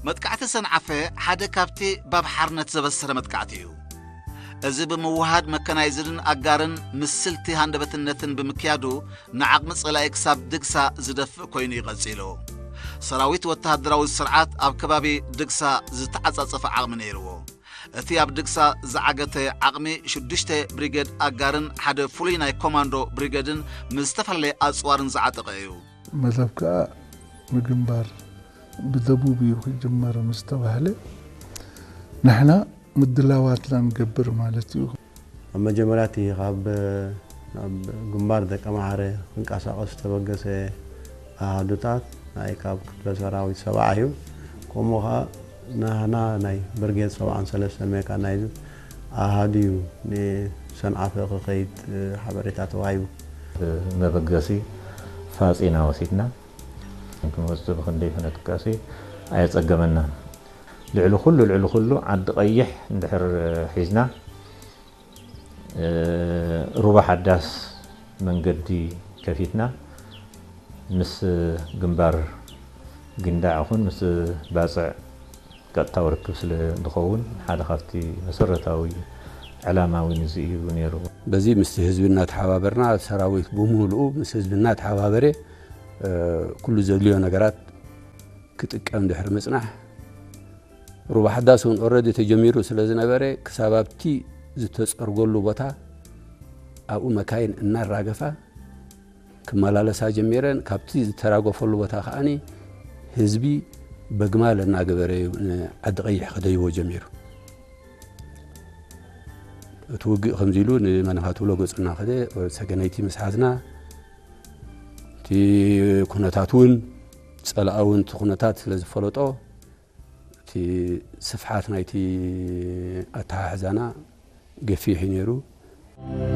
መጥቃዕቲ ሰንዓፈ ሓደ ካብቲ ባብ ሓርነት ዘበሰረ መጥቃዕቲ እዩ። እዚ ብምውሃድ መከናይዝድን ኣጋርን ምስልቲ ሃንደበትነትን ብምክያዱ ንዓቕሚ ጸላኢ ክሳብ ድግሳ ዝደፍእ ኮይኑ እዩ ቀጺሉ። ሰራዊት ወተሃደራዊ ስርዓት ኣብ ከባቢ ድግሳ ዝተዓጻጸፈ ዓቕሚ ነይርዎ። እቲ ኣብ ድግሳ ዝዓገተ ዓቕሚ ሽዱሽተ ብሪገድ ኣጋርን ሓደ ፍሉይ ናይ ኮማንዶ ብሪገድን ምስ ዝተፈላለየ ኣጽዋርን ዝዓጠቐ እዩ። መደብ ከኣ ምግንባር ብደቡብ እዩ ክጅመር ምስ ተባህለ ንሕና ምድላዋትና ንገብር ማለት እዩ። ኣብ መጀመርያ እቲ ካብ ናብ ግንባር ደቀምሓረ ክንቀሳቐስ ዝተበገሰ ኣሃዱታት ናይ ካብ ክፍለ ሰራዊት ሰብዓ እዩ። ከምኡ ከዓ ናህና ናይ ብርጌድ ሰብዓን ሰለስተን ሜካናይዝድ ኣሃዱ እዩ ንሰንዓፈ ክኸይድ ሓበሬታ ተዋሂቡ። መበገሲ ፋፂና ወሲድና። ክንወፅእ ብኽንደይ ክነጥቃሲ ኣየፀገመናን። ልዕሊ ኩሉ ልዕሊ ኩሉ ዓዲ ቀይሕ እንድሕር ሒዝና ሩባ ሓዳስ መንገዲ ከፊትና ምስ ግንባር ጊንዳዕ ኹን ምስ ባፅዕ ቀጥታዊ ርክብ ስለ ዝኸውን ሓደ ካብቲ መሰረታዊ ዕላማ እውን እዚ እዩ ነይሩ። በዚ ምስቲ ህዝቢ እናተሓባበርና ሰራዊት ብምሉኡ ምስ ህዝቢ እናተሓባበረ ኩሉ ዘድልዮ ነገራት ክጥቀም ድሕሪ ምፅናሕ ሩባ ሓዳስ እውን ኦረዲ ተጀሚሩ ስለ ዝነበረ ክሳብ ኣብቲ ዝተፀርገሉ ቦታ ኣብኡ መካይን እናራገፋ ክመላለሳ ጀሚረን። ካብቲ ዝተራገፈሉ ቦታ ከዓኒ ህዝቢ በግማል እናገበረ እዩ ንዓዲ ቀይሕ ክደይቦ ጀሚሩ። እቲ ውግእ ከምዚ ኢሉ ንመንኻ ትብሎ ገፁ እናኸደ ወደ ሰገነይቲ ምስ ሓዝና እቲ ኩነታት እውን ፀላኢ እውን እቲ ኩነታት ስለ ዝፈለጦ እቲ ስፍሓት ናይቲ ኣተሓሕዛና ገፊሕ እዩ ነይሩ።